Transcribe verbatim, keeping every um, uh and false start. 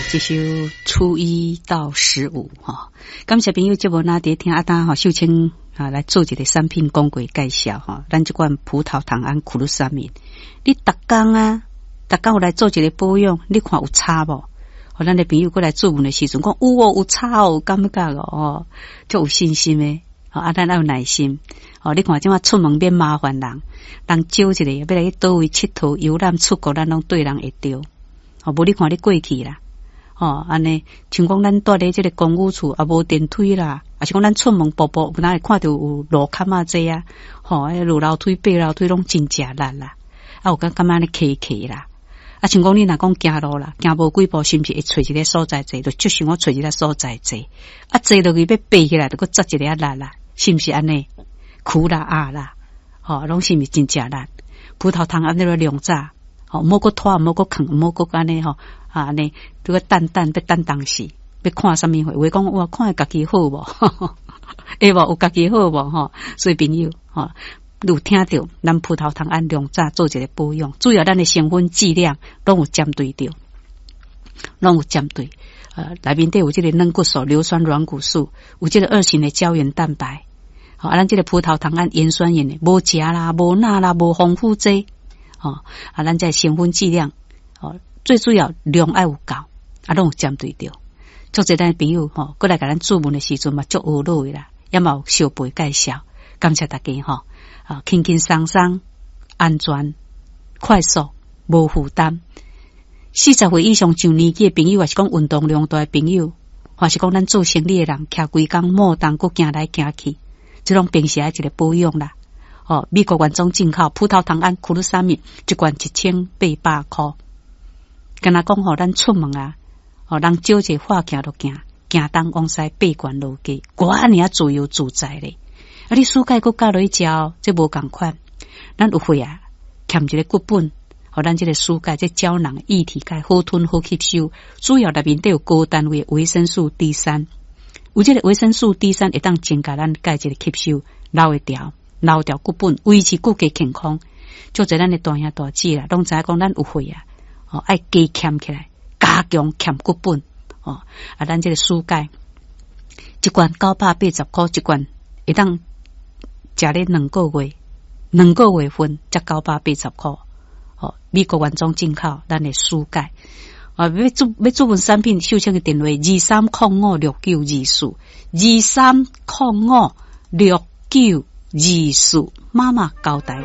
這首初一到十五哈，感謝朋友節目那佇聽阿丹吼秀清啊來做一個產品廣告介紹吼，咱這罐葡萄糖胺苦魯沙米，你逐工啊，逐工有來做一個保養，你看有差無？予咱的朋友過來諮問的時陣，講有哦，有差哦，有感覺哦，足有信心的。啊，咱愛有耐心。哦，你看這馬出門免麻煩人，人招一个欲來去佗位𨑨迌遊覽出國，咱攏對人會著。哦，無你看你過去啦，吼，按呢，像講咱蹛佇這个公寓厝也無電梯啦，抑是講咱出門步步有哪會看著有路坎仔濟啊？吼，落樓梯、爬樓梯攏真食力啦。啊，有感覺按呢磕磕啦。啊，像講你若講行路啦，行無幾步，是毋是會揣一个所在坐？就足想欲揣一个所在坐。啊，坐落去欲爬起來，就閣紮一个力啦，是毋是按呢？苦啦啊啦，吼，攏是毋是真食力？葡萄糖胺那個量早，吼，毋好閣拖，毋好閣囥，毋好閣按呢吼，啊按呢，這個等等欲等當時，欲看啥物貨？有的講哇，看家己好無？會無？有家己好無？吼，所以朋友，吼，有聽著咱葡萄糖胺量早做一個保養，主要咱的成分劑量攏有針對著，攏有針對。呃，內面底有這個軟骨素、硫酸軟骨素，有這個二型的膠原蛋白。好，啊，咱這個葡萄糖胺鹽酸鹽的，無食啦，無鈉啦，無防腐劑。哦，啊，咱這成分劑量，哦，最主要量愛有夠，啊，攏有針對著。足濟咱朋友吼，過來共咱諮問的時陣嘛，足懊惱的啦，也嘛有相背介紹，感謝大家吼，啊，輕輕鬆鬆、安全、快速、無負擔。四十歲以上上年紀的朋友，抑是講運動量大的朋友，或是講咱做生理的人，徛規工摩動閣行來行去，這攏平時愛一個保養啦。哦，美國原裝進口葡萄糖胺苦魯沙米，一罐一千八百箍。敢若講吼，咱出門啊，哦，人招一個化行就行，行東往西爬懸落低，偌爾仔自由自在咧。啊，你暑假閣加落去食哦，這無仝款。咱有血啊，欠一個骨本，予咱這个舒鈣這膠囊液體鈣好吞好吸收，主要內面底有高單位維生素 D 三，有這個維生素 D 三會當增加咱鈣質的吸收，留會牢，留牢骨本，維持骨骼健康。足濟咱的大兄大姊啦，攏知影講咱有血啊，哦，愛加欠起來，加強欠骨本，哦，啊，咱這个舒鈣一罐九百八十箍一罐，會當食咧兩個月，兩個月份才九百八十箍。哦，美國原裝進口，咱的舒鈣啊，欲注欲注文產品，秀清的電話二三空五六九二四，二三空五六九二四，媽媽交代。